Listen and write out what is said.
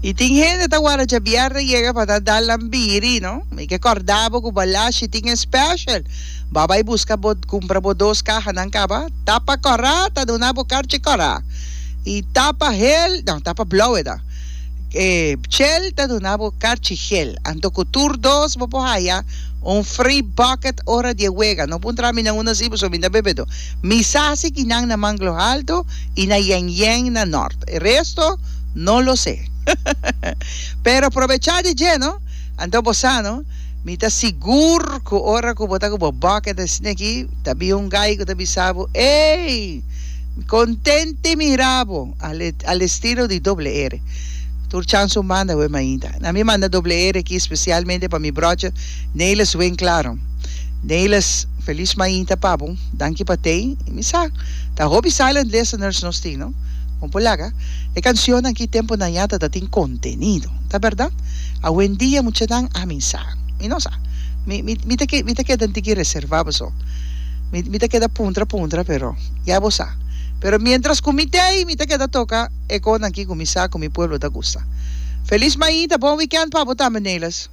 I tin hende ta warda djabièrnè yega pa ta dal nan biri, no? Mi ke kòrda bo ku Balashi tin e special. Bo a bai buska bo kumpra bo dos kahanan kaba. Tapa kòrá ta duna bo karchi kòrá. I tapa hel, no, tapa blou e ta. E chel ta duna bo karchi gel. Anto ku tur dos bo por haya un free bucket ora di e wega. No puntra mi na unda si pasobra mi ta bebedo. Mi sa si kinan na Manglo Halto i na Yen Yen na Nort. E resto no lo sé. Pero probechá di dje no. Anto bo sa no, mi ta sigur ku ora ku bo ta ku bo bucket asina aki, ta bin un gai ku ta bisa bo, Ey! Kontenti mira bo! Al estilo di doble R. Tur chans un banda awe mainta. Na mi manda doble R aki spesialmente pa mi brochi Nelis Winklaar. Nelis, felis mainta pa bo. Danki pa tei. Mi sa, ta hopi silent listeners nos tin, no? Bon por laga. E cancionnan aki temponan ya ta ta tin contenido. Ta berdad? Awendia muchanan ami sa. Mi no sa. Mi, mi, mi ta ke, mi ta keda un tiki reserva paso. Mi, mi ta keda puntra puntra pero ya bo sa. Pero mientras cu mi tei mi ta keda toca e conan aki cu mi sa cu mi pueblo ta gusta. Felis mainta, bon weekend pa bo tambe Nelis.